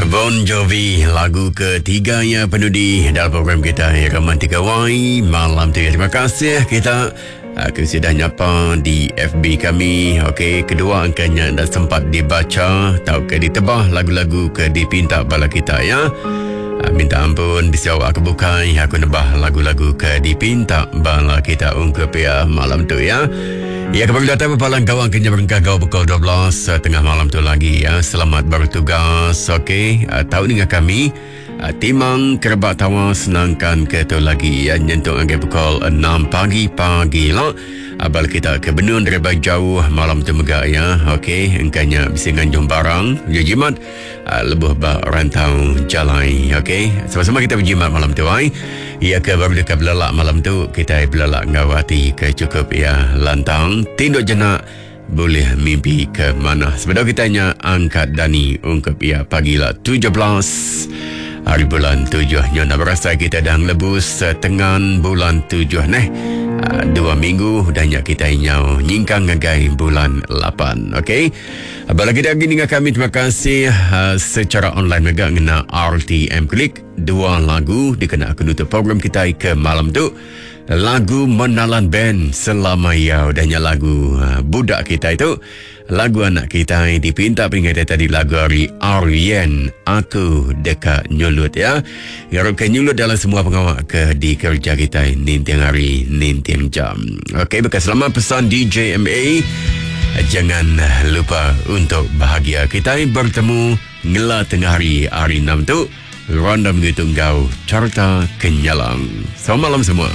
Bon Jovi lagu ketiga ya penudi dalam program kita Romantika Y malam tu ya. Terima kasih kita aku sudah nyapa di FB kami. Okey, kedua angkanya dah sempat dibaca atau ke ditebah lagu-lagu ke dipinta bala kita ya. Ah, minta ampun bisa awak aku bukai aku nebah lagu-lagu ke dipinta bala kita ungkup ya malam tu ya. Ya, kembali datang berpalang gawang kenya berengkah gawang pukul 12 eh, tengah malam tu lagi ya. Selamat bertugas. Okey, eh, tahu dengan kami eh, timang kerebak tawa senangkan ke tu lagi ya nyentuk ngagai pukul 6 pagi pagi lah. Abal kita ke benun daripada jauh malam tu mega ya. Okey, engkanya bisa nganjung barang, ya jimat lebuh ba rantau jalai. Okey, sama-sama kita berjimat malam tu ai. Ya ke baru dekat belelak malam tu, kita belelak ngau hati ke cukup ya lantang. Tinduk jenak boleh mimpi ke mana. Sebenarnya kita nya angkat dani ungkap ya pagi lah 17 hari bulan 7 nya nak berasa kita dah ngelebus setengah bulan 7 neh. 2 minggu dah nya kita nyau nyingkang ngagai bulan 8. Okey. Bala kita lagi dengan kami terima kasih secara online mega ngena RTM Klik dua lagu dikena aku nutup program kita ke malam tu. Lagu Menalan Band Selama Ya udahnya lagu budak kita itu lagu anak kita dipinta peringatan tadi lagu hari Aryan Aku Deka Nyulut ya. Ngarap ke nyulut dalam semua pengawak ke di kerja kita ninting hari ninting jam. Okey, bekas selamat pesan DJMA. Jangan lupa untuk bahagia. Kita bertemu ngela tengah hari hari 6 tu. Random gitu enggau Carta Kenyalang. Selamat malam semua.